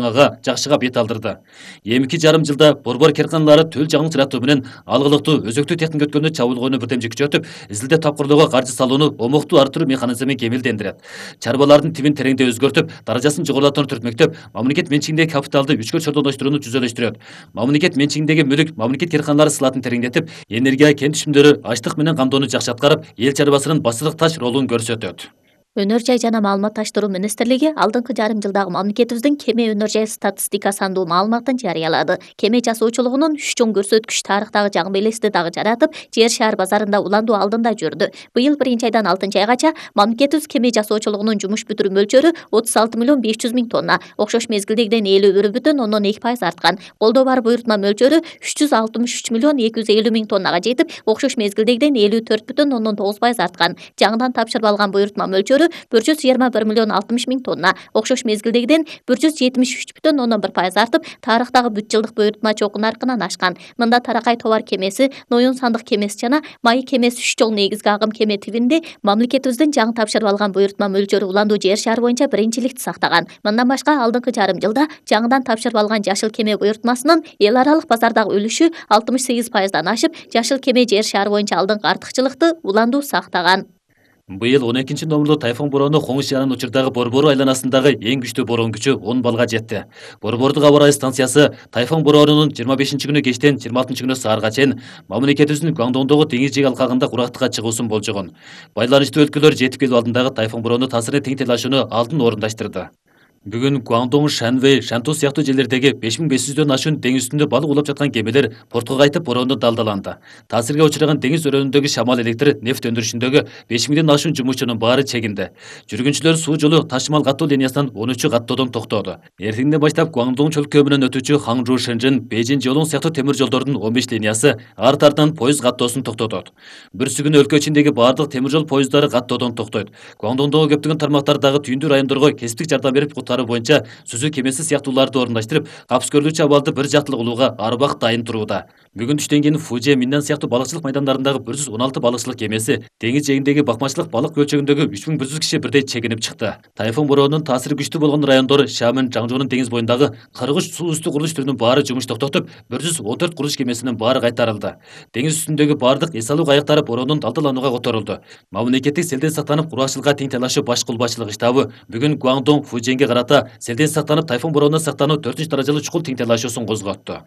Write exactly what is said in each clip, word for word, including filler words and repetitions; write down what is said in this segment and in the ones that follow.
жаңага жакшыга бет алдырды. эки жарым жылда борбор керканалары төл жаңы сыратуу менен алгылыктуу өзөктүү техника өткөнү чабуулгону бирдемче күчөтүп, изилдеп тапкырлоого каржы салууну омуктуу арттыруу механизмин кемелдендирет. Чарбалардын тибин тереңдей өзгөртүп, даражасын жогорулатууну түртмөктөп, мамлекет менчигиндеги капиталды үчкө чордоноштурууну түзөлөштүрөт. Мамлекет менчигиндеги мүлк мамлекет керканалары сылатын тереңдетип, энергия кен түшүмдөрү ачлык менен камдоону жакшы аткарып, эл чарбасынын басылык таш ролун көрсөтөт. Өнөр жай жана маалыматташтыруу министрлиги алдыңкы жарым жылдагы мамлекетибиздин кеме өнөр жай статистика сандуу маалыматын жарыялады. Кеме жасоочулугунун үч чоң көрсөткүч тарыхтагы жаңы белести дагы жаратып, жер шаар базарында уландуу алдында жүрдү. Быйыл биринчи айдан алтынчы айгача мамлекетибиз кеме жасоочулугунун жумуш бүтүрүү мөлчөрү отуз алты миллион беш жүз миң тонна, окшош мезгилдегиден элүү бир бүтүн ондон эки пайыз арткан. Колдоо бар буйрутма мөлчөрү үч жүз алтымыш үч миллион эки жүз элүү миң тоннага жетип, окшош мезгилдегиден элүү төрт бүтүн ондон тогуз пайыз арткан. Жаңыдан тапшырып алган буйрутма мөлчөрү бир жүз жыйырма бир миллион алтымыш миң тонна, окшош мезгилдегиден бир жүз жетимиш үч бүтүн ондон бир пайыз артып, тарыхтагы бүт жылдык буйрутма чогуу наркынан ашкан. Мында таракай товар кемеси, ноюн сандык кемеси жана май кемеси үч жол негизги агым кеме тибинде мамлекетибиздин жаңы тапшырып алган буйрутма мөлчөрү уландуу жер шаар боюнча биринчиликти сактаган. Мындан башка алдыңкы жарым жылда жаңыдан тапшырып алган жашыл кеме буйрутмасынын эл аралык базардагы үлүшү алтымыш сегиз пайыздан ашып, жашыл кеме жер шаар боюнча алдыңкы артыкчылыкты уландуу сактаган. Быйыл он экинчи номерлуу тайфун бороону Коңуз шаарынын учурдагы Борбору айланасындагы эң күчтүү бороон күчү он балга жетти. Борбордук аба ырайы станциясы тайфун бороонунун жыйырма бешинчи күнү кечтен жыйырма алтынчы күнү саарга чейин мамлекетибиздин Гуандонгдогу деңиз жээк алкагында курактыкка чыгуусун болжогон. Байланыштуу өлкөлөр жетип келүү алдындагы тайфун бороону таасирine тең тейлашууну алдын орундаштырды. Бүгүн Гуандонг, Шанвэй, Шанту сыяктуу жерлердеги беш миң беш жүздөн ашуун деңиз үстүндө балык улап жаткан кемелер портко кайтып бороондо далдаланды. Таасирге учураган деңиз өрөөнүндөгү шамал электр, нефть өндүрүшүндөгү беш миңден ашуун жумушчунун баары чегинди. Жүргүнчүлөр суу жолу ташымал каттоо линиясынан он үчү каттоодон токтоду. Эртеңден баштап Гуандонг чөлкөө менен өтүүчү Ханчжоу, Шэньчжэн, Бейжиң, Жолоң сыяктуу темир жолдордун он беш линиясы арт артынан поезд каттоосун токтотот. Бүрсү күнү өлкө ичиндеги бардык темир жол поезддары каттоодон токтойт. Гуандонгдогу көптөгөн тармактардагы түйүндүү райондорго кесиптик жардам берип куткаруу боюнча сүзүү кемеси сыяктууларды орундаштырып, капскөрлүүчү абалды бир жактылык улууга ар убакыт дайын турууда. Бүгүн түштөн кийин Фужи, Миннан сыяктуу балыкчылык майдандарындагы бир жүз он алты балыкчылык кемеси деңиз жээгиндеги бакмачылык балык көлчөгүндөгү үч миң бир жүз киши бирдей чегинип чыкты. Тайфун бороонунун таасири күчтүү болгон райондор Шамен, Жаңжоонун деңиз боюндагы кырк үч суу үстү курулуш түрүнүн баары жумуш токтотуп, бир жүз он төрт курулуш кемесинин баары кайтарылды. Деңиз үстүндөгү бардык эс алуу кайыктары бороонун далдаланууга которулду. Мамлекеттик селден сактанып кургакчылыкка тең тейлашуу баш кулбатчылык штабы бүгүн Гуандонг, Фуженге карата селден сактанып тайфун бороону сактануу төртүнчү даражалуу чукул тең тейлашуусун козготту.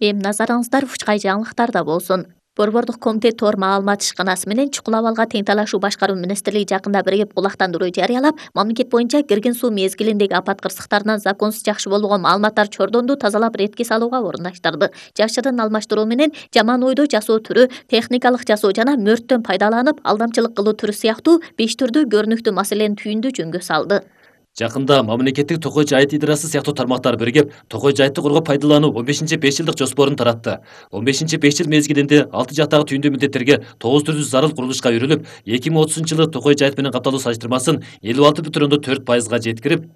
Эми назарыңыздар Учкай жаңылыктарда болсун. Борбордук комитет тоор маалымат ишканасы менен чукул абалга тең талашуу башкаруу министрлиги жакында биригип булактандыруу жарыялап, мамлекет боюнча кирген суу мезгилиндеги апат кырсыктарынан законсуз жакшы болгон маалыматтар чордонду тазалап ретке салууга орундаштырды. Жашырын алмаштыруу менен жаман ойдо жасоо түрү, техникалык жасоо жана мөрттөн пайдаланып алдамчылык кылуу түрү сыяктуу беш түрдүү көрүнүктүү маселени түйүндү жөнгө салды. Жакында мамлекеттик Токой жайыт идарасы сыяктуу тармактар биригип, Токой жайытты коргоп пайдалануу он бешинчи беш жылдык жоспорун таратты. он бешинчи беш жыл мезгилинде алты жактагы түйүндүү милдеттерге тогуз түрдүү зарыл курулушка үйрүлүп, эки миң отузунчу жылы Токой жайыт менен капталуу салыштырмасын элүү алты бүтүн ондон төрт пайызга жеткирип,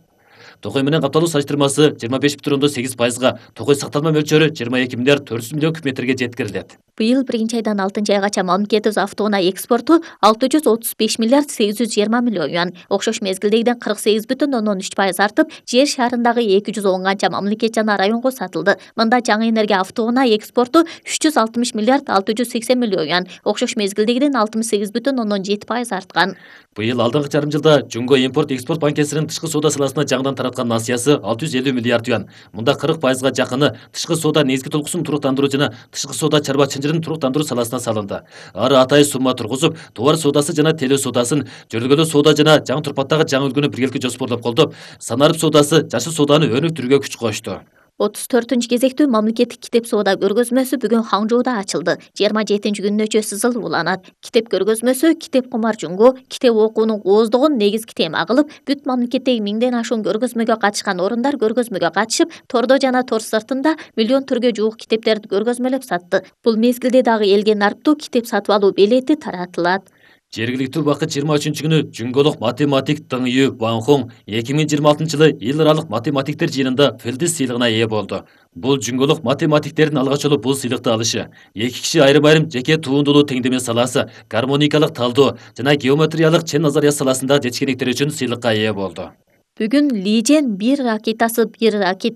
Токой менен капталуу салыштырмасы жыйырма беш бүтүн ондон сегиз пайызга, Токой сакталма мөлчөрү жыйырма эки миллиард төрт жүз миллион куб метрге жеткирилет. Быйыл биринчи айдан алтынчы айгача мамлекетибиз автоунаа экспорту алты жүз отуз беш миллиард сегиз жүз жыйырма миллион юан, окшош мезгилдегиден кырк сегиз бүтүн ондон үч пайыз артып, жер шаарындагы эки жүз он канча мамлекет жана районго сатылды. Мында жаңы энергия автоунаа экспорту үч жүз алтымыш миллиард алты жүз сексен миллион юан, окшош мезгилдегиден алтымыш сегиз бүтүн ондон жети пайыз арткан. Быйыл алдыңкы жарым жылда Жумго импорт экспорт банкесинин тышкы соода саласына жаңыдан тараткан насыясы алты жүз элүү миллиард юан. Мында кырк пайызга жакыны тышкы соода негизги толкусун туруктандыруу жана тышкы соода чарба чынжырын туруктандыруу саласына салынды. Ары атай сумма тургузуп, товар соодасы жана телөө соодасын, жөргөлүү соода жана жаңы турпаттагы жаңы үлгүнү биргеликте жоспорлоп колдоп, санарып соодасы, жашыл сооданы өнүктүрүүгө күч кошту. отуз төртүнчү кезектүү мамлекеттик китеп соода көргөзмөсү бүгүн Хаңжоуда ачылды. жыйырма жетинчи күнүнө сызыл уланат. Китеп көргөзмөсү китеп кумар Жунго китеп окуунун ооздугун негизги тема кылып, бүт мамлекеттеги миңден ашуун көргөзмөгө катышкан орундар көргөзмөгө катышып, тордо жана тор сыртында миллион түргө жуук китептерди көргөзмөлөп сатты. Бул мезгилде дагы элге нарптуу китеп сатып алуу билети таратылат. Жергиликтүү убакыт жыйырма үчүнчү күнү Жунголук математик Дың Ю Ванхон эки миң жыйырма алтынчы жылы эл аралык математиктер жыйынында Фелдис сыйлыгына ээ болду. Бул Жунголук математиктердин алгач жолу бул сыйлыкты алышы. Эки киши айрым-айрым жеке туундулуу теңдеме саласы, гармоникалык талдоо жана геометриялык чен назария саласында жетишкендиктери үчүн сыйлыкка ээ болду. Бүгүн Лижен бир ракетасы бир ракета